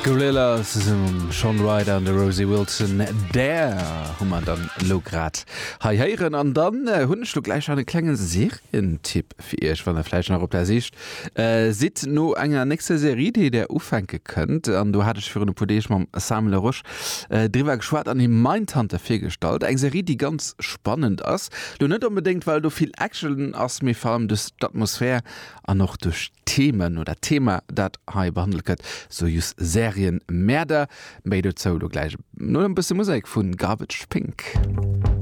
Gorillaz zesumme mam Shaun Ryder an der Rosie Wilson, Dare hu mer dann elo grad hei héieren. An dann hunn ech lo gläich nach e klenge Serientipp fir iech, wann der vläicht nach op der Sich sidd no enger nächster Serie, déi der ufänke kënnt. An do hat ech virun e puer Deeg mam Sam Leroche driwwer geschwat an him Mindhunter virgestallt. Eng Serie, déi ganz spannend ass. Lo net onbedéngt, well do vill Action ass, mee vor allem duerch d'Atmosphär an och duerch d'Themen oder d'Thema, dat hei behandelt gëtt, sou just Serienmäerder. Méi dozou lo gläich no e bësse Musek vu Garbage Pink.